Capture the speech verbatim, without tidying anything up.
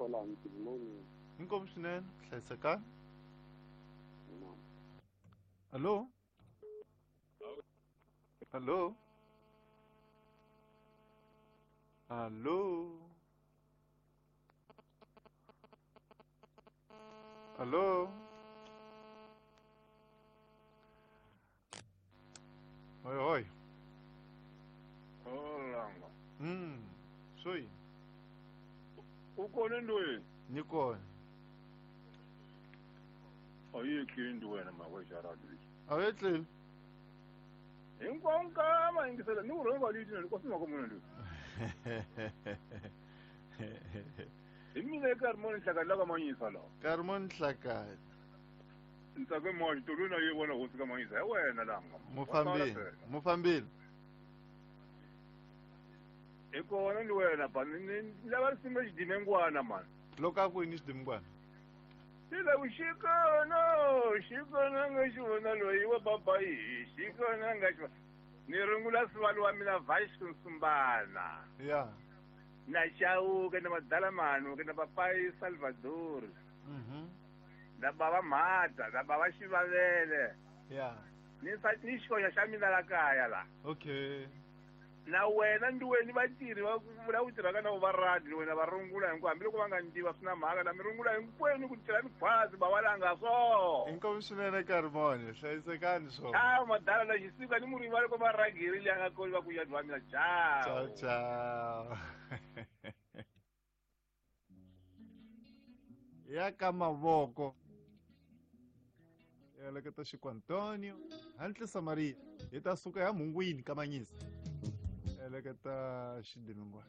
Kwalani good morning. Inkomu swinene, hlayisekani. Hallo? Hallo? Hallo? Hallo? Oi, oi. Olanga. Mm, soi. Ukona ndoyi? Nikona. Ayikho into wena makwesharadi. Awetleli. Hinkwamkama ingisela ni urhonga lithi nkosi makomona ndo. Hi mina Karmon Nhlakani la ka Manyisa la. Karmon Nhlakani. Ntsake mali tolona ye vona hosi ka Manyisa hi wena langa. Mufambile, mufambile. Hi kona ni wena ba ni lava risimu xidimengwana mani. Loko a ku yini xidimengwana? Sila ushikona, ushikona nga xivona loyi wa babayi, xikona nga xivona. Ni rungula sivalo wa mina Vasco Nsumbana. Yeah. Na Chauke na madala manu ke na papai Salvador. Mhm. Na baba Mata, na baba Xivavele. Yeah. Ni sa ni xikoxa xa mina la kaya la. Okay. Na wena ndiweni vatirhi va vula ku tirhaka na va radio wena va rungula hinkwavo hambiloko va nga ndiva swi na mhaka na mi rungula hinkwenu ku tirha mikhwazi ba walanga so. Inkomu swinene Karmon, hlayisekani swona. Ciao madala la xisika ni murivali ko varhangeri leyi nga kona va ku ya dwa mina ciao. Ciao ciao. Ya ka mavoko. Eleketa Xiku Antonio, Hantlisa Maria, hi ta suka ya Mungwini ka Manyisa. Eleketa xidimingwana.